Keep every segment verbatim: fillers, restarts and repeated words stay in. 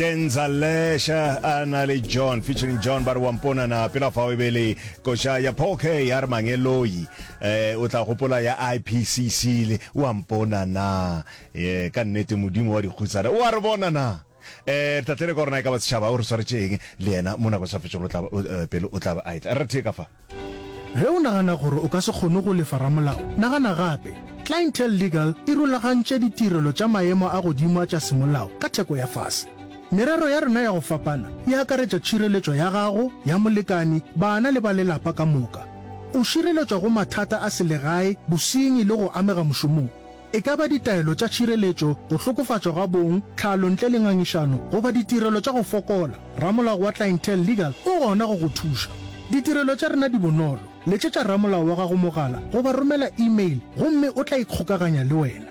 Denza Lesha a na le John featuring John ba re wa mpona na pela fao e be le koša ya Paul K ya re mangeloi eh o tla gopola ya I P C C le wa mpona na eh ka nnete modimo wa dikhutsana o a re bona na eh re tla tlele ka gore na e ka ba setšhaba o re swaretše eng le yena mo nako sa fetšego o tla eh, pele o tla ba a etla re thee ka fa. Ge o nagana gore o ka se kgone go lefa ramolao, nagana gape. Clientele Legal e rulagantše ditirelo tša maemo a godimo a tša semolao ka theko ya fase. Merero ya rena ya go fapana e akaretša tšhireletšo ya gago, ya molekani, bana le ba lelapa ka moka. O šireletšwa go mathata a selegae, bosenyi le go amega mošomong. E ka ba ditaelo tša tšhireletšo, go hlokofatšwa ga bong, tlhalo ntle le ngangišano goba ditirelo tša go fokola, ramolao wa Clientele Legal o gona go go thuša. Ditirelo tša rena di bonolo. Letšetša ramolao wa gago mogala goba romela email gomme o tla ikgokaganya le wena.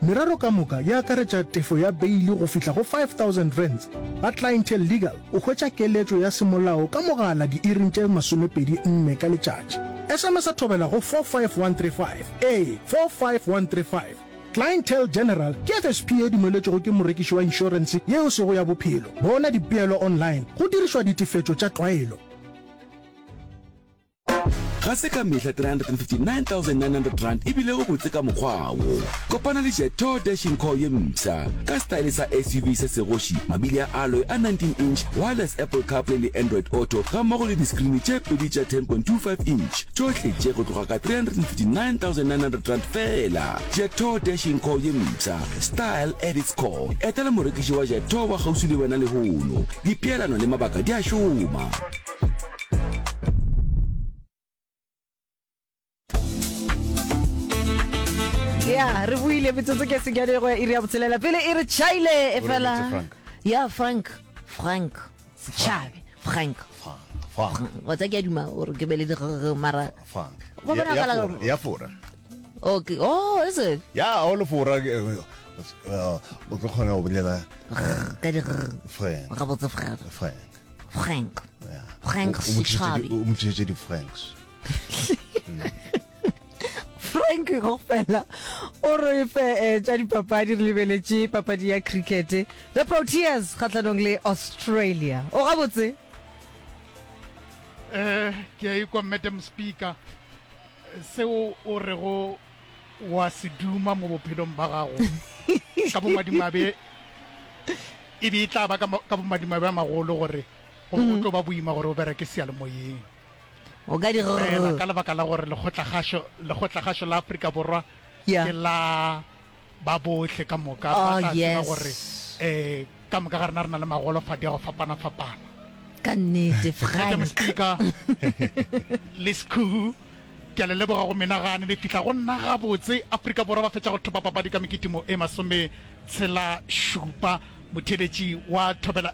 Merero ka moka e akaretša tefo ya beili go fihla go five thousand rands. Ga Clientele Legal o hwetša keletšo ya semolao ka mogala diiring tše masomepedi nne ka letšatši. S M S a thobela go four five one three five. Ee, four five one three five. Clientele General ke F S P ye dumeletšwego ke morekiši wa inšorense ye e sego ya bophelo. Bona dipeelo online go dirišwa ditefetšo tša tlwaelo. Ga se ka mehla three hundred and fifty-nine thousand nine hundred rand e bilego botse ka mokgwa wo. Kopana le Jetour Dashing Core ye mpsha ka style sa S U V se segoši, mabili a alloy a nineteen inch, wireless Apple CarPlay le Android Auto gammogo le diskrini tše pedi tša ten point two five inch. Tšohle tše go tloga ka three hundred and fifty-nine thousand nine hundred rand feela. Jetour Dashing Core ye mpsha, style at its core. Etela morekiši wa Jetour wa kgauswi le wena lehono. Dipeelano le mabaka di a šoma. Ya re buile metsotso ke senyane go ya iri ya botshelela pele e re tšhaile e fela. Frank. Ya Frank, Frank Setšhabe, Frank. Frank. Wa tsa ke a duma gore ke be le di mara Frank. Go Ya- ya bonagala Fora, gore- ya fora. Okay, oh, is it? Ya o le fora eh, eh, o tlo kgona go bolela ka di Frank. Gabotse, Frank. Frank. Frank. Ya. Frank O- o mo tlišetše Setšhabe. di- o mo tlišetše di-franks. Frank go fela o re fe eh, tša dipapadi. Re lebeletše papadi ya cricket, the Proteas kgatlhanong le Australia. O gabotse? eh ke a ikwa, Madam Speaker. Seo o rego wa se duma mo bophelong ba gago, ka bomadimabe e be e tla ba ka mo- ka bomadimabe a magolo gore go go tlo ba boima gore o bereke seyalemoyeng. O ka di Fela ka lebaka la gore lekgotlagašo lekgotlagašo la Afrika Borwa Yeah. ke la ba bohle ka moka, Oh, ba tla tseba yes. gore um ka moka ga rena re na le magolofadi a go fapana-fapana. Ka nnete. Madam Frank. Speaker le Sekhu, ke a le leboga go menagane le fihla go nna gabotse. Afrika Borwa ba fetša go thopa papadi ka mekitimo e masome tshela šupa. Motheletši wa Thobela.